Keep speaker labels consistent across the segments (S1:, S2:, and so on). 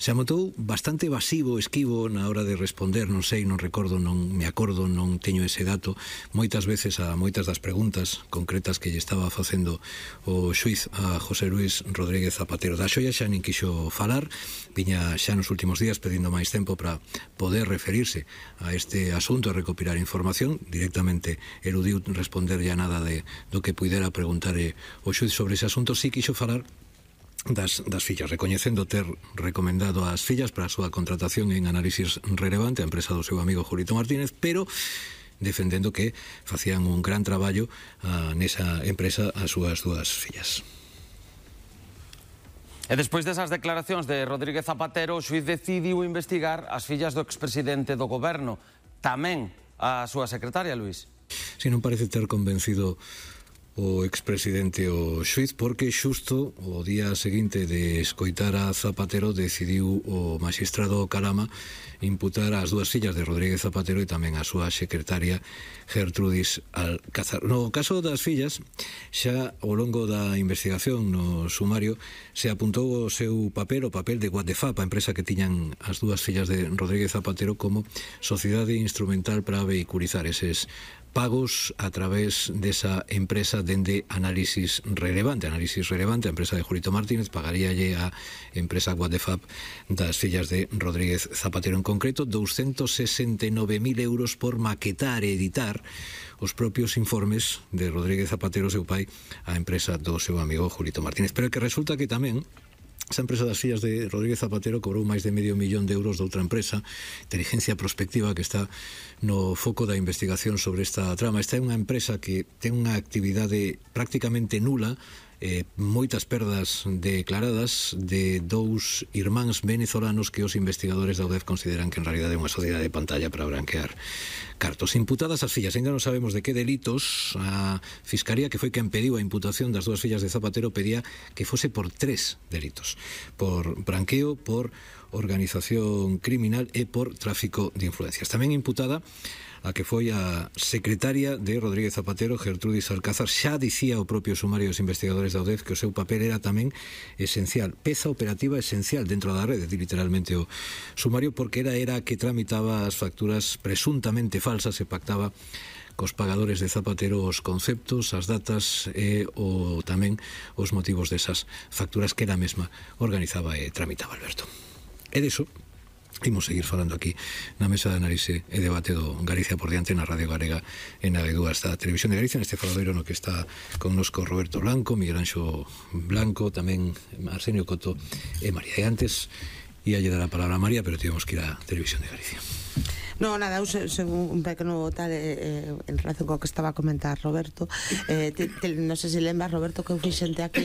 S1: Se amotou bastante evasivo, esquivo na hora de responder, non sei, non recordo, non me acordo, non teño ese dato. Moitas veces a moitas das preguntas concretas que lle estaba facendo o xuiz a José Luis Rodríguez Zapatero da Xoia xa nin quixo falar, viña xa nos últimos días pedindo máis tempo para poder referirse a este asunto e recopilar información. Directamente eludiu responder ya nada do que puidera preguntar o xuiz sobre ese asunto. Si quixo falar das fillas, recoñecendo ter recomendado as fillas para a súa contratación en Análisis Relevante, a empresa do seu amigo Julito Martínez, pero defendendo que facían un gran traballo nesa empresa as súas dúas fillas.
S2: E despois desas declaracións de Rodríguez Zapatero, o xuiz decidiu investigar as fillas do expresidente do goberno, tamén a súa secretaria, Luís.
S1: Si non parece ter convencido o expresidente o xuiz, porque xusto o día seguinte de escoitar a Zapatero decidiu o magistrado Calama imputar as dúas fillas de Rodríguez Zapatero e tamén a súa secretaria Gertrudis Alcázar. No caso das fillas, xa ao longo da investigación no sumario se apuntou o seu papel, o papel de Guadefap, a empresa que tiñan as dúas fillas de Rodríguez Zapatero como sociedade instrumental para vehiculizar eses pagos a través desa empresa dende Análisis Relevante. Análisis Relevante, a empresa de Julito Martínez, pagaríalle a empresa Guadefap das fillas de Rodríguez Zapatero, en concreto 269.000 euros por maquetar e editar os propios informes de Rodríguez Zapatero, seu pai, a empresa do seu amigo Julito Martínez. Pero que resulta que tamén esa empresa das fillas de Rodríguez Zapatero cobrou máis de medio millón de euros de outra empresa, Inteligencia Prospectiva, que está no foco da investigación sobre esta trama. Esta é unha empresa que ten unha actividade prácticamente nula, moitas perdas declaradas de dous irmáns venezolanos que os investigadores da UDEF consideran que en realidade é unha sociedade de pantalla para branquear cartos. Imputadas as fillas, ainda non sabemos de que delitos. A Fiscalía, que foi quen pediu a imputación das dúas fillas de Zapatero, pedía que fose por 3 delitos: por branqueo, por organización criminal e por tráfico de influencias. Tamén imputada a que foi a secretaria de Rodríguez Zapatero, Gertrudis Alcázar. Xa dicía o propio sumario dos investigadores da UDEF que o seu papel era tamén esencial, peza operativa esencial dentro da rede, literalmente o sumario, porque era a que tramitaba as facturas presuntamente falsas e pactaba cos pagadores de Zapatero os conceptos, as datas e tamén os motivos desas facturas que ela mesma organizaba e tramitaba, Alberto. E diso imos seguir falando aquí na mesa de análise e debate do Galicia por diante na Radio Galega e na D2 da Televisión de Galicia, neste faladoiro no que está connosco Roberto Blanco, Miguel Anxo Blanco, tamén Arsenio Coto e María. E antes ia lle dar a palabra a María, pero tivemos que ir á Televisión de Galicia.
S3: No, nada, según un pequeno tal en relación co que estaba a comentar Roberto, non sei se lembras, Roberto, que eu fixente aquí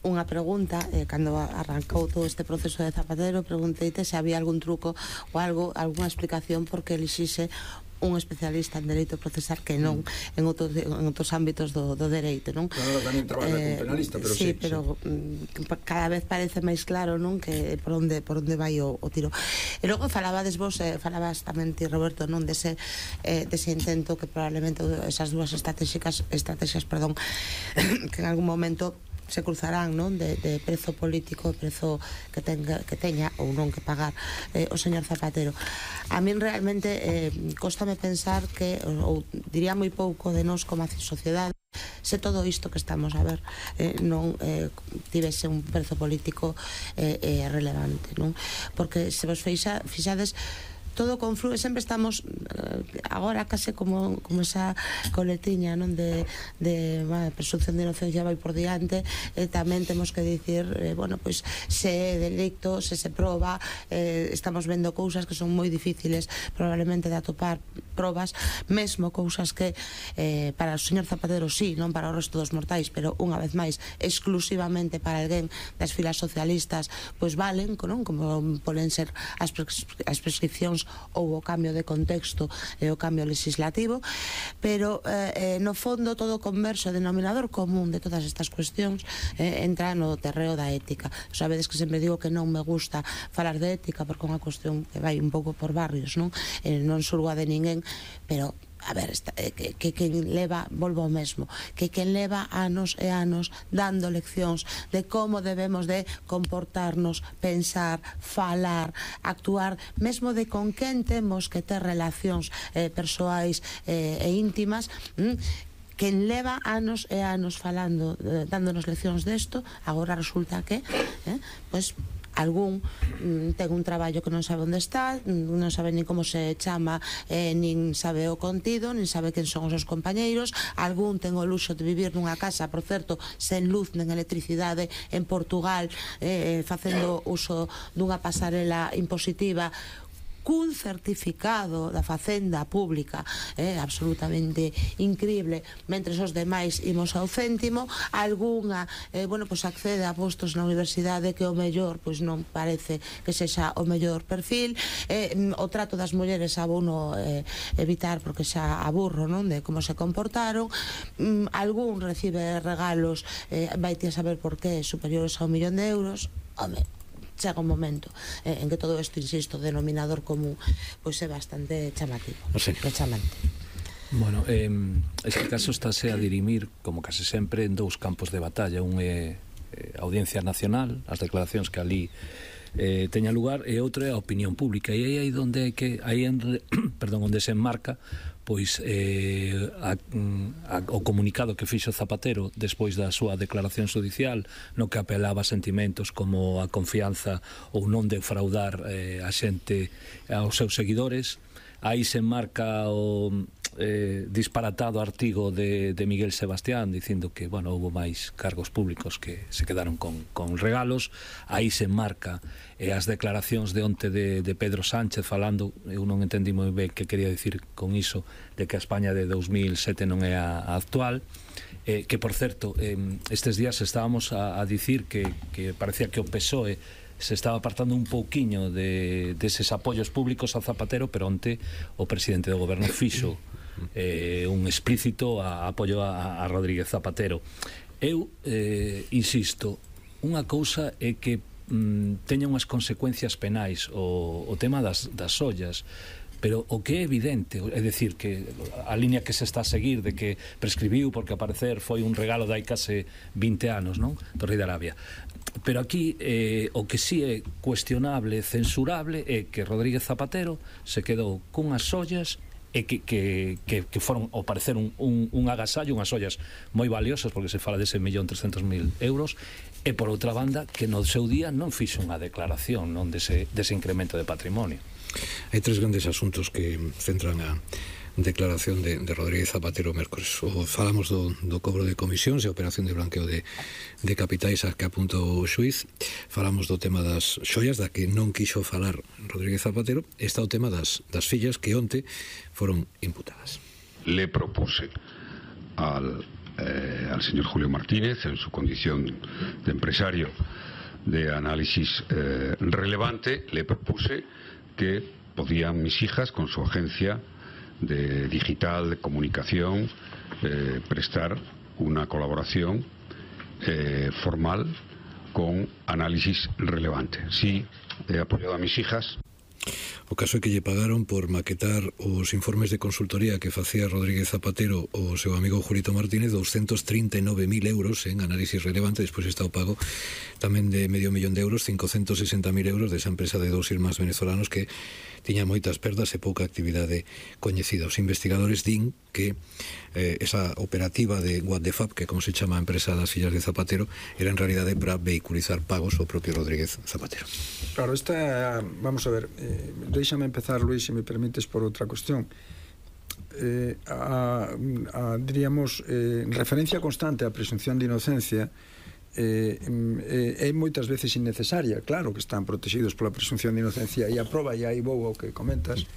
S3: unha pregunta cando arrancou todo este proceso de Zapatero. Pregunteite se había algún truco ou algo, algunha explicación porque elixixe un especialista en dereito procesal que non en outros ámbitos do dereito, non?
S4: Claro, tamén traballa como penalista, pero sí,
S3: pero cada vez parece máis claro, non, que por onde vai o tiro. E logo falabas tamén ti, Roberto, non, dese intento que probablemente esas dúas estrategias, que en algún momento se cruzarán, non, de prezo político, prezo que teña ou non que pagar o señor Zapatero. A min realmente cóstame pensar que, ou diría moi pouco de nós como a sociedade, se todo isto que estamos a ver non tivese un prezo político relevante, non? Porque se vos fixades, todo conflue, sempre estamos agora case como esa coletiña, non, de presunción de inocencia vai por diante, tamén temos que dicir, bueno, pois se é delicto, se proba, estamos vendo cousas que son moi difíciles probablemente de atopar probas, mesmo cousas que para o señor Zapatero sí, non para o resto dos mortais, pero unha vez máis exclusivamente para alguén das filas socialistas, pois valen, non? Como poden ser as prescripcións ou o cambio de contexto e o cambio legislativo, pero no fondo todo o converso denominador común de todas estas cuestións entra no terreo da ética. Sabedes que sempre digo que non me gusta falar de ética porque é unha cuestión que vai un pouco por barrios, non? Non surgua de ninguén pero a ver, que quen leva, volvo ao mesmo, que quen leva anos e anos dando leccións de como debemos de comportarnos, pensar, falar, actuar, mesmo de con quen temos que ter relacións persoais e íntimas, quen leva anos e anos falando, dándonos leccións desto, agora resulta que pois algún ten un traballo que non sabe onde está, non sabe nin como se chama, nin sabe o contido, nin sabe quen son os seus compañeiros, algún ten o luxo de vivir nunha casa, por certo, sen luz nen electricidade en Portugal, facendo uso dunha pasarela impositiva, cun certificado da Facenda Pública absolutamente increíble, mentres os demais imos ao céntimo, algunha pois accede a postos na universidade que o mellor pois non parece que sexa o mellor perfil, o trato das mulleres abuno evitar porque xa aburro, non, de como se comportaron, algún recibe regalos vaite a saber por qué superiores a 1 millón de euros. Home, chega un momento en que todo isto, insisto, denominador común pois é bastante chamativo, chamante.
S5: Bueno, este caso estáse a dirimir, como case sempre, en dous campos de batalla. Un é a Audiencia Nacional, as declaracións que ali teña lugar, e outro é a opinión pública, e aí onde onde se enmarca pois o comunicado que fixo Zapatero despois da súa declaración judicial, no que apelaba a sentimentos como a confianza ou non defraudar a xente, aos seus seguidores. Aí se enmarca o disparatado artigo de Miguel Sebastián dicindo que, bueno, houve máis cargos públicos que se quedaron con regalos. Aí se enmarca as declaracións de onte de Pedro Sánchez falando, eu non entendí moi ben que quería dicir con iso, de que a España de 2007 non é a actual, que, por certo, estes días estábamos a dicir que parecía que o PSOE se estaba apartando un pouquiño deses apoios públicos a Zapatero, pero onte o presidente do goberno fixo un explícito apoio a Rodríguez Zapatero. Eu insisto, unha cousa é que teña unhas consecuencias penais o tema das ollas, pero o que é evidente, é dicir, que a línea que se está a seguir de que prescribiu porque ao parecer foi un regalo de hai case 20 anos, non? Do rei de Arabia. Pero aquí o que sí é cuestionable, censurable, é que Rodríguez Zapatero se quedou cunhas ollas e que foron, ao parecer, un agasallo, unhas ollas moi valiosas, porque se fala dese 1.300.000 euros, e por outra banda que no seu día non fixo unha declaración non dese incremento de patrimonio.
S1: Hai tres grandes asuntos que centran a declaración de Rodríguez Zapatero mércores. Falamos do cobro de comisións e a operación de blanqueo de capitais a que apunta o xuiz. Falamos do tema das xoias, da que non quixo falar Rodríguez Zapatero. Está o tema das fillas que onte foron imputadas.
S4: Le propuse al señor Julio Martínez, en su condición de empresario de análisis relevante, le propuse que podían mis hijas, con su agencia de digital, de comunicación, prestar una colaboración formal con análisis relevante. Sí, he apoyado a mis hijas.
S1: O caso é que lle pagaron por maquetar os informes de consultoría que facía Rodríguez Zapatero o seu amigo Julito Martínez, 239.000 euros en análisis relevante. Despois está o pago tamén de $500.000 de euros, 560.000 euros desa empresa de dous irmáns venezolanos que tiña moitas perdas e pouca actividade coñecida. Os investigadores din que esa operativa de What the Fab, que como se chama a empresa das fillas de Zapatero, era en realidade para vehiculizar pagos ao propio Rodríguez Zapatero.
S6: Claro, vamos a ver, déxame empezar, Luis, se me permites, por outra cuestión. Diríamos, referencia constante á presunción de inocencia é moitas veces innecesaria. Claro que están protegidos pola presunción de inocencia, e a proba, e aí vou ao que comentas,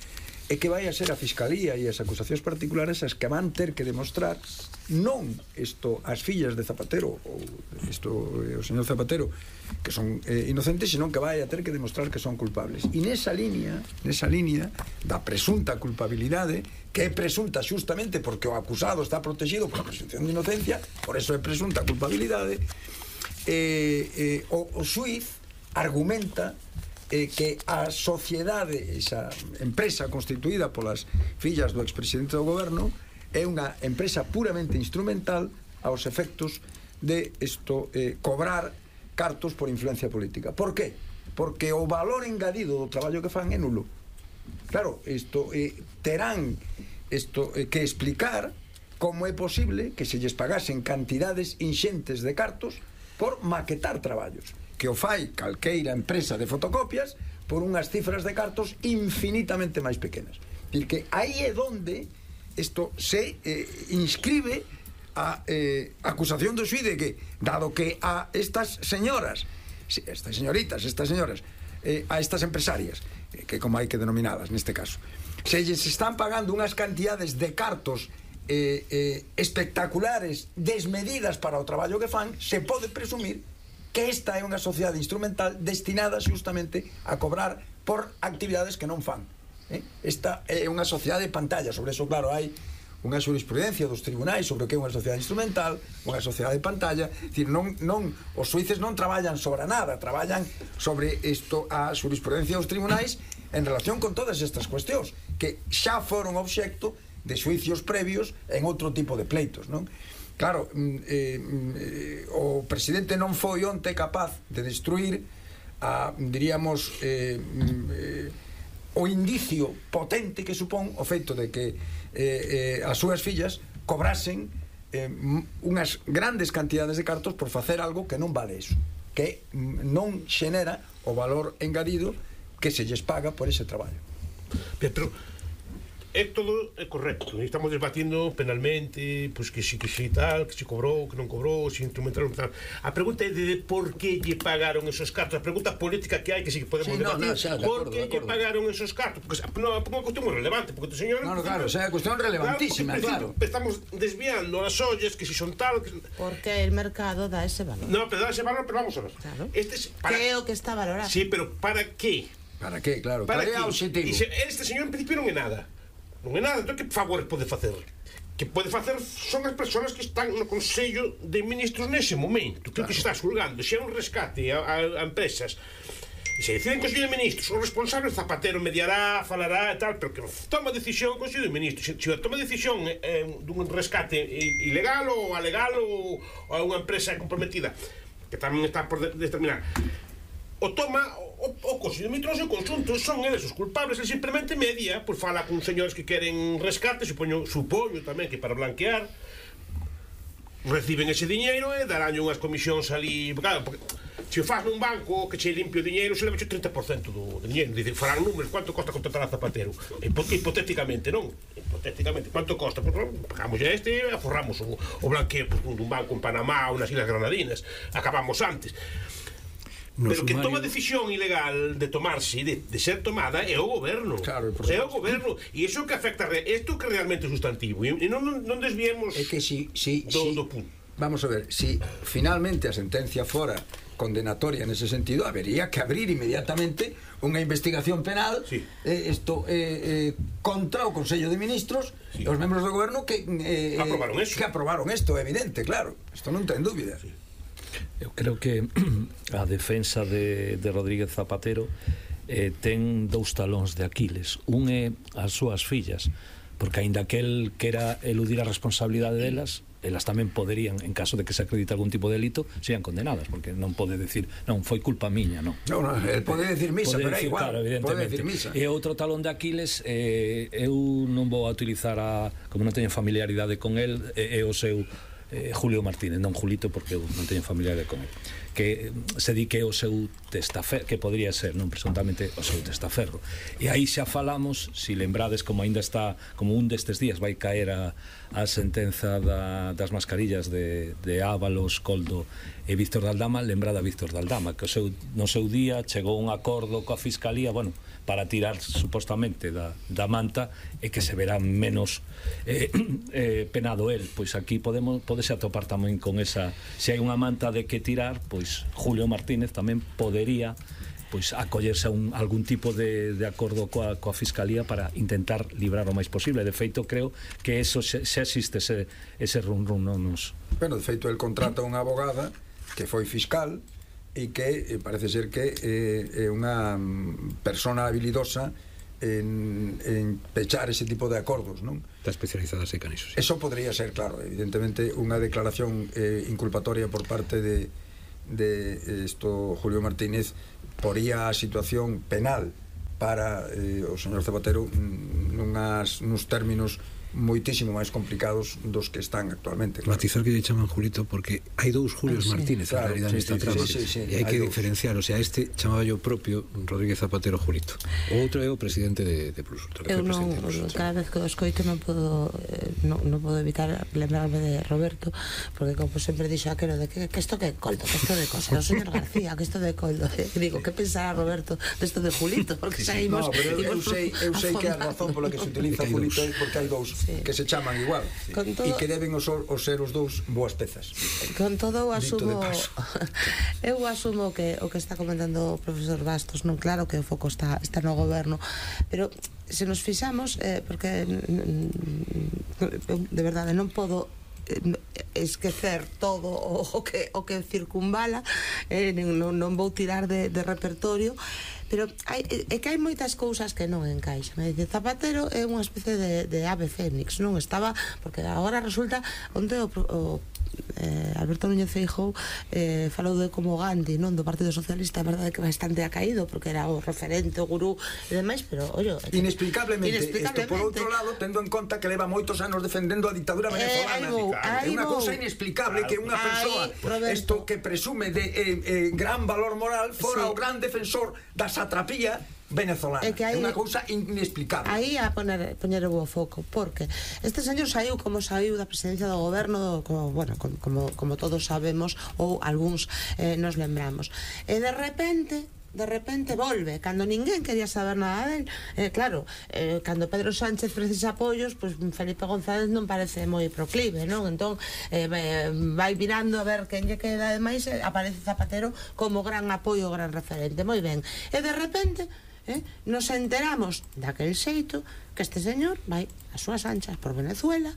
S6: é que vai a ser a Fiscalía e as acusacións particulares as que van ter que demostrar non isto as fillas de Zapatero ou isto o señor Zapatero que son inocentes, senón que vai a ter que demostrar que son culpables. E nesa línea da presunta culpabilidade, que é presunta xustamente porque o acusado está protegido pola presunción de inocencia, por eso é presunta culpabilidade, o xuiz argumenta que a sociedade, esa empresa constituída polas fillas do expresidente do goberno, é unha empresa puramente instrumental aos efectos de cobrar cartos por influencia política. Por qué? Porque o valor engadido do traballo que fan é nulo. Claro, terán que explicar como é posible que se lles pagasen cantidades inxentes de cartos por maquetar traballos, que o fai calqueira empresa de fotocopias por unhas cifras de cartos infinitamente máis pequenas. Dicir que aí é onde isto se inscribe a acusación do xuíz de que, dado que a estas señoras, estas señoritas, a estas empresarias, que como hai que denominadas neste caso, se lles están pagando unhas cantidades de cartos espectaculares, desmedidas para o traballo que fan, se pode presumir que esta é unha sociedade instrumental destinada justamente a cobrar por actividades que non fan. Esta é unha sociedade de pantalla. Sobre eso, claro, hai unha jurisprudencia dos tribunais sobre o que é unha sociedade instrumental, unha sociedade de pantalla. Dicir, os xuíces non traballan sobre nada, traballan sobre a jurisprudencia dos tribunais en relación con todas estas cuestións que xa foron obxecto de xuicios previos en outro tipo de pleitos, non? Claro, o presidente non foi onte capaz de destruir diríamos o indicio potente que supón o feito de que as súas fillas cobrasen unhas grandes cantidades de cartos por facer algo que non vale eso, que non xenera o valor engadido que se lles paga por ese traballo.
S7: Pero todo é correcto, estamos debatindo penalmente, pois que si tal, que si cobrou, que non cobrou, si instrumentaron tal. A pregunta é de por que lle pagaron esos cartos. A pregunta política que hai, que si que podemos debatir, por que lle pagaron esos cartos, porque é unha cuestión moi relevante, porque o señor...
S6: Claro, é unha cuestión relevantísima, claro.
S7: Estamos desviando as ollas, que si son tal...
S3: Porque el mercado dá ese valor.
S7: No, pero dá ese valor, pero vamos a ver.
S3: Que é o que está valorado.
S7: Sí, pero para qué?
S6: Para qué, claro. Para que é o objetivo.
S7: Este señor en principio non é nada. Non é nada, entón que favor pode facer? Que pode facer son as persoas que están no Consello de Ministros nese momento, que se está xulgando, se é un rescate a empresas, e se deciden Consello de Ministros, o responsable Zapatero mediará, falará e tal, pero que toma decisión o Consello de Ministros. Se toma decisión dun rescate ilegal ou alegal ou a unha empresa comprometida, que tamén está por determinar, o toma o Consello de Ministros e o conxunto, son eles os culpables. Ele simplemente media, pois fala con señores que queren rescate, supoño tamén que para blanquear reciben ese diñeiro e darán unhas comisións ali, claro, porque se o faz nun banco que che limpio o diñeiro, se leva o 30% do diñeiro. Dicen, farán números, quanto costa contratar a Zapatero? Hipotéticamente, non? Hipotéticamente, quanto costa? Pues, pagamos a e aforramos o blanqueo dun banco en Panamá ou nas Islas Granadinas, acabamos antes. Pero que toma decisión ilegal de tomarse, de ser tomada, é o goberno.
S6: Claro,
S7: é o goberno. E iso que afecta isto que realmente é sustantivo. E non desviemos do punto.
S6: Vamos a ver, si finalmente a sentencia fora condenatoria nese sentido, habería que abrir inmediatamente unha investigación penal contra o Consello de Ministros e os membros do goberno que aprobaron isto, evidente, claro. Isto non ten dúbida.
S5: Eu creo que a defensa de Rodríguez Zapatero ten dous talóns de Aquiles. Un é as súas fillas, porque aínda que el quera eludir a responsabilidade delas, elas tamén poderían, en caso de que se acredite algún tipo de delito, sean condenadas, porque non pode decir, non, foi culpa miña, non.
S6: Non, el pode decir misa, pero é igual,
S5: claro,
S6: pode decir misa.
S5: E outro talón de Aquiles, eu non vou a utilizar como non teño familiaridade con el, é o seu Julio Martínez, non Julito, porque eu non teño familiaridade con el, que se di que é o seu testaferro, que podría ser, non, presuntamente o seu testaferro. E aí xa falamos, si lembrades, como ainda está, como un destes días vai caer a sentenza das mascarillas de Ábalos, Coldo e Víctor de Aldama, lembrada Víctor de Aldama, que no seu día chegou un acordo coa Fiscalía, bueno, para tirar supostamente da manta e que se verá menos penado el. Pois aquí podese atopar tamén con esa, se hai unha manta de que tirar, pois Julio Martínez tamén podería pois acollerse a algún tipo de acordo coa Fiscalía para intentar librar o máis posible. De feito, creo que eso xa existe ese run non nos...
S6: Bueno, de feito, el contrata unha abogada que foi fiscal e que parece ser que é unha persona habilidosa en pechar ese tipo de acordos, non?
S1: Está especializada seca niso, sí.
S6: Eso podría ser, claro, evidentemente unha declaración inculpatoria por parte de Julio Martínez poría a situación penal para o señor Zapatero nuns términos moitísimo máis complicados dos que están actualmente, claro.
S1: Matizar que lle chaman Julito porque hai dous Julios Martínez en realidad nesta trama, e hai que diferenciar, o sea, este chamaba yo propio Rodríguez Zapatero Julito, o outro é o presidente de Plus Ultra.
S3: Eu non, cada vez que o escoito non podo evitar lembrarme de Roberto, porque como sempre dixo aquelo de que isto que é coldo, que isto de cosa, o señor García, que isto de coldo, digo, que pensará Roberto desto de Julito, porque saímos...
S6: No, pero eu sei que a razón pola que se utiliza Julito é porque hai dous que se chaman igual e que deben ser os dous boas pezas.
S3: Con todo eu asumo que o que está comentando o profesor Bastos, non, claro que o foco está no goberno, pero se nos fixamos, porque de verdade non podo esquecer todo o que circunvala, non vou tirar de repertorio, pero é que hai moitas cousas que non encaixan. Zapatero é unha especie de ave fénix, non estaba, porque agora resulta onde Alberto Núñez Feijóo falou de como Gandhi, non, do Partido Socialista, a verdade que bastante ha caído porque era o referente, o gurú e demais, pero ollo,
S6: inexplicablemente, isto por outro lado, tendo en conta que leva moitos anos defendendo a ditadura venezolana, é unha cousa inexplicable que unha persoa isto que presume de gran valor moral fora o gran defensor da satrapía venezolana. É unha cousa inexplicable.
S3: Aí a poñer o foco, porque este señor saiu como saiu da presidencia do goberno, como todos sabemos, ou algúns nos lembramos. E de repente volve, cando ninguén quería saber nada del. Claro, cando Pedro Sánchez precisa apoios, pues Felipe González non parece moi proclive, non? Entón vai mirando a ver quen lle queda, ademais aparece Zapatero como gran apoio, gran referente, moi ben. E de repente nos enteramos daquel xeito que este señor vai as súas anchas por Venezuela,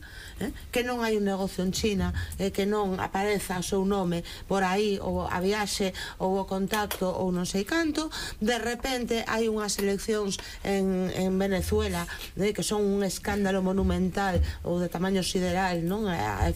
S3: que non hai un negocio en China, que non apareza o seu nome por aí, ou a viaxe, ou o contacto, ou non sei canto. De repente hai unhas eleccións en Venezuela que son un escándalo monumental ou de tamaño sideral, non, a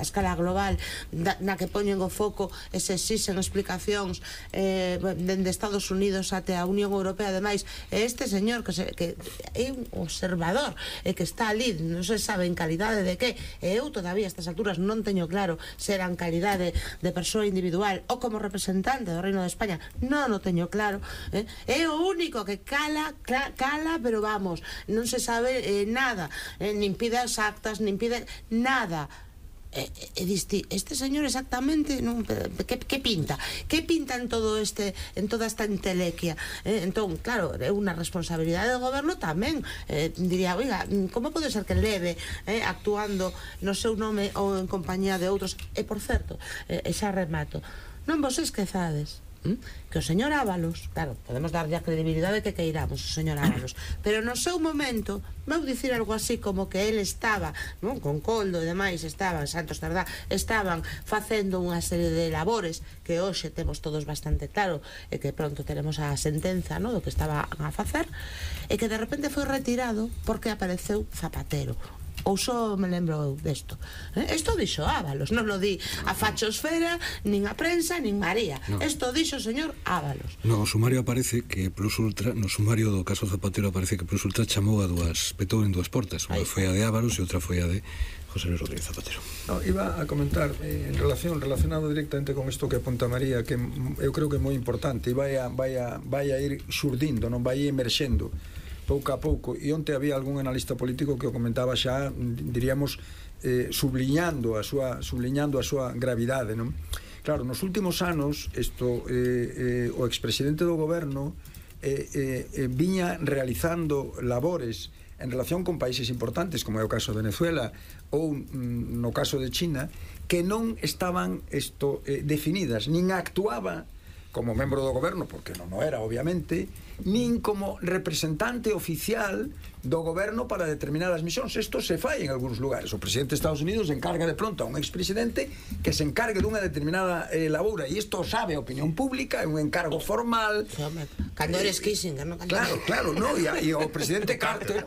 S3: escala global, na que poñen o foco e se exixen explicacións dende Estados Unidos até a Unión Europea. Ademais, este señor que é un observador e que está ali, non se sabe en calidade de que, e eu todavía a estas alturas non teño claro se era en calidade de persoa individual ou como representante do Reino de España, non o teño claro, é o único que cala, pero vamos, non se sabe nada, nin pide as actas, nin pide nada. Este señor exactamente que pinta en todo en toda esta entelequia, entón, claro, é unha responsabilidade do goberno tamén, diría, oiga, como pode ser que leve actuando no seu nome ou en compañía de outros? E por certo, xa remato, non vos esquezades que o señor Ábalos, claro, podemos darlle a credibilidade que queiramos o señor Ábalos, pero no seu momento vou dicir algo así como que ele estaba, non, con Coldo e demais, estaban Santos Tardá, estaban facendo unha serie de labores que hoxe temos todos bastante claro e que pronto teremos a sentenza, non, do que estaba a facer, e que de repente foi retirado porque apareceu Zapatero. Ou só me lembro desto. Isto dixo Ábalos, non lo di a fachosfera, nin a prensa, nin María. Isto dixo o señor Ábalos.
S1: No sumario aparece que Plus Ultra, no sumario do caso Zapatero aparece que Plus Ultra chamou petou en dúas portas. Unha foi a de Ábalos e outra foi a de José Luis Rodríguez Zapatero.
S6: Iba a comentar relacionado directamente con isto que apunta María, que eu creo que é moi importante e vai a ir xurdindo, non vai emerxendo pouco a pouco, e onte había algún analista político que o comentaba xa, diríamos, subliñando a súa gravidade, non? Claro, nos últimos anos o expresidente do goberno viña realizando labores en relación con países importantes, como é o caso de Venezuela ou no caso de China, que non estaban definidas, nin actuaba como membro do goberno, porque non o era, obviamente, nin como representante oficial do goberno para determinadas misións. Isto se fai en algúns lugares. O presidente de Estados Unidos encarga de pronto a un expresidente que se encargue dunha determinada laboura, e isto sabe a opinión pública, é un encargo formal.
S3: Cando eres Kissinger, non?
S6: Claro, no, e o presidente Carter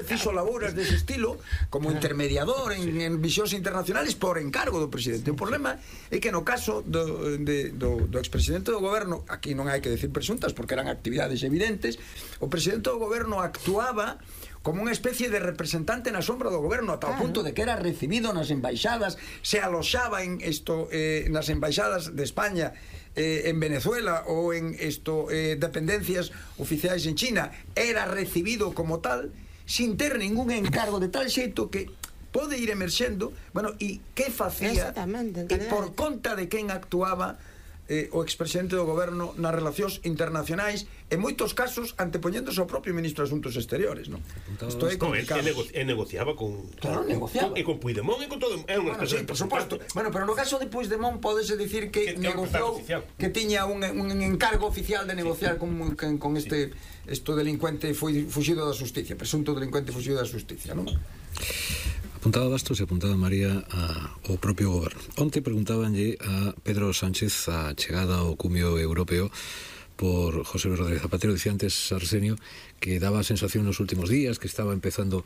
S6: fixo labouras dese estilo como intermediador en visións internacionales por encargo do presidente. O problema é que no caso do expresidente do goberno, aquí non hai que decir presuntas porque eran actividades evidentes, o presidente do goberno actuaba como unha especie de representante na sombra do goberno, ata o punto de que era recibido nas embaixadas, se aloxaba en nas embaixadas de España, en Venezuela ou en dependencias oficiais en China, era recibido como tal, sin ter ningún encargo, de tal xeito que pode ir emerxendo, bueno, e que facía, e por conta de quen actuaba o expresidente do goberno nas relacións internacionais, en moitos casos antepoñéndose ao propio ministro de Asuntos Exteriores, non? Isto é complicado.
S7: E negociaba con...
S6: Claro, negociaba.
S7: E con Puigdemont e con todo...
S6: Sí, por suposto. Bueno, pero no caso de Puigdemont podese dicir que negociou, que tiña un encargo oficial de negociar con este delincuente fuxido da justicia, presunto delincuente fuxido da justicia, non?
S1: Apuntaba Bastos e apuntaba María ao propio goberno. Onte preguntábanlle a Pedro Sánchez a chegada ao cumio europeo por José Luis Rodríguez Zapatero. Dicía antes Arsenio que daba a sensación nos últimos días que estaba empezando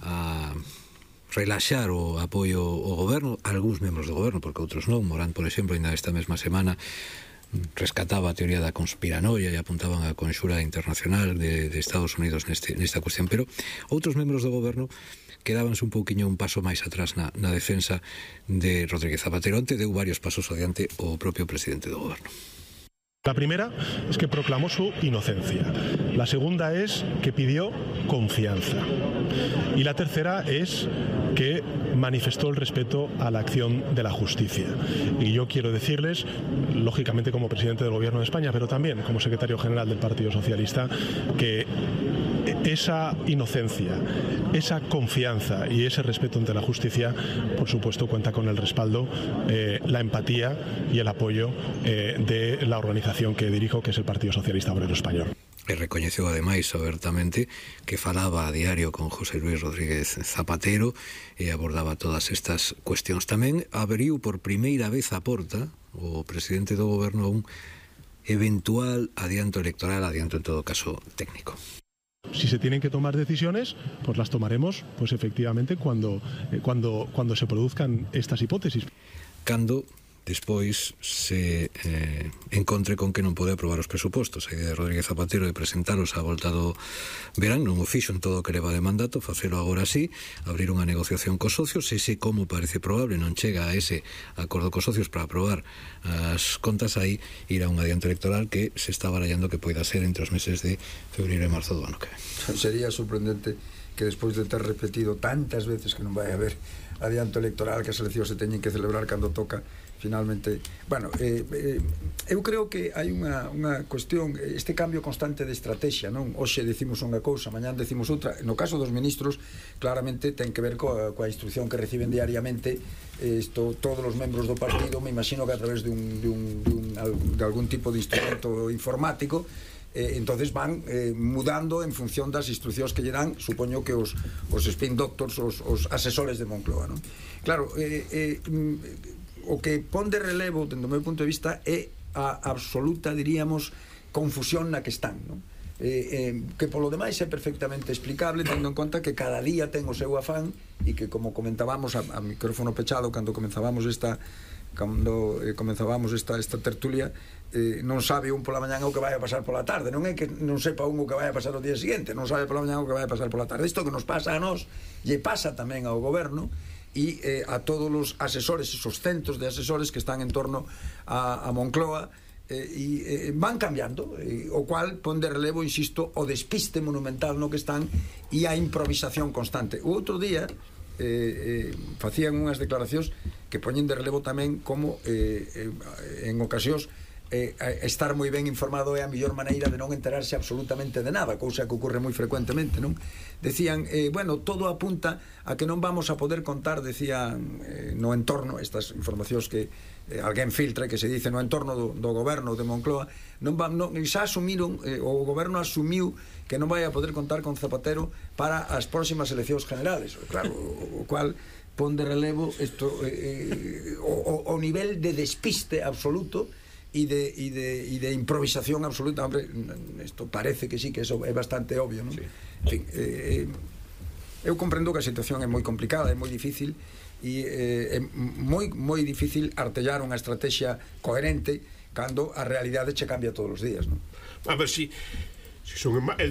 S1: a relaxar o apoio ao goberno, algúns membros do goberno, porque outros non. Morán, por exemplo, ainda esta mesma semana rescataba a teoría da conspiranoia e apuntaban a conxura internacional de Estados Unidos nesta cuestión, pero outros membros do goberno quedábanse un pouquiño un paso máis atrás na defensa de Rodríguez Zapatero. Onte deu varios pasos adiante o propio presidente do goberno.
S8: La primera es que proclamó su inocencia. La segunda es que pidió confianza. Y la tercera es que manifestó el respeto a la acción de la justicia. Y yo quiero decirles, lógicamente como presidente del Gobierno de España, pero también como secretario general del Partido Socialista, que esa inocencia, esa confianza y ese respeto ante la justicia, por supuesto, cuenta con el respaldo, la empatía y el apoyo de la organización que dirijo, que es el Partido Socialista Obrero Español.
S1: E recoñeceu ademais abertamente que falaba a diario con José Luis Rodríguez Zapatero e abordaba todas estas cuestións. Tamén abriu por primeira vez a porta o presidente do goberno a un eventual adianto electoral, adianto en todo caso técnico.
S8: Si se tienen que tomar decisiones, pues las tomaremos, pues efectivamente cuando se produzcan estas hipótesis.
S1: Cando despois se encontre con que non pode aprobar os presupostos. A idea de Rodríguez Zapatero de presentaros a volta do verán, non o fixo en todo o que leva de mandato, facelo agora sí, abrir unha negociación cos socios, ese como parece probable non chega a ese acordo cos socios para aprobar as contas, aí irá un adianto electoral que se está barallando que poida ser entre os meses de febreiro e marzo do ano que ven.
S6: Sería sorprendente que despois de ter repetido tantas veces que non vai haber adianto electoral, que as eleccións se teñen que celebrar cando toca, finalmente, bueno, eu creo que hai unha cuestión, este cambio constante de estrategia, non? Hoxe decimos unha cousa, mañán decimos outra. No caso dos ministros, claramente ten que ver coa instrucción que reciben diariamente todos os membros do partido, me imagino que a través de algún tipo de instrumento informático, entonces van mudando en función das instruccións que lle dan, supoño que os spin doctors, os asesores de Moncloa, non? Claro, o que pon de relevo, dentro do meu punto de vista, é a absoluta, diríamos, confusión na que están, non? Que polo demais é perfectamente explicable, tendo en conta que cada día ten o seu afán, e que, como comentábamos a micrófono pechado cando comenzábamos esta tertulia, non sabe un pola mañán o que vai a pasar pola tarde. Non é que non sepa un o que vai a pasar o día seguinte, non sabe pola mañán o que vai a pasar pola tarde. Isto que nos pasa a nós lle pasa tamén ao goberno e a todos os asesores, esos centros de asesores que están en torno a Moncloa, e van cambiando, o cual pon de relevo, insisto, o despiste monumental no que están e a improvisación constante. O outro día facían unhas declaracións que poñen de relevo tamén como en ocasións estar moi ben informado é a mellor maneira de non enterarse absolutamente de nada, cousa que ocorre moi frecuentemente, non? Decían, bueno, todo apunta a que non vamos a poder contar, decían, no entorno, estas informacións que alguén filtra, que se dice no entorno do goberno de Moncloa, xa asumiron, o goberno asumiu que non vai a poder contar con Zapatero para as próximas eleccións generales, claro, o cual pon de relevo o nivel de despiste absoluto e de improvisación absoluta. Hombre, isto parece que sí, que eso é bastante obvio, non? Sí. En fin, eu comprendo que a situación é moi complicada, é moi difícil, e é moi difícil artellar unha estrategia coherente cando a realidade che cambia todos os días, non?
S7: A ver, si son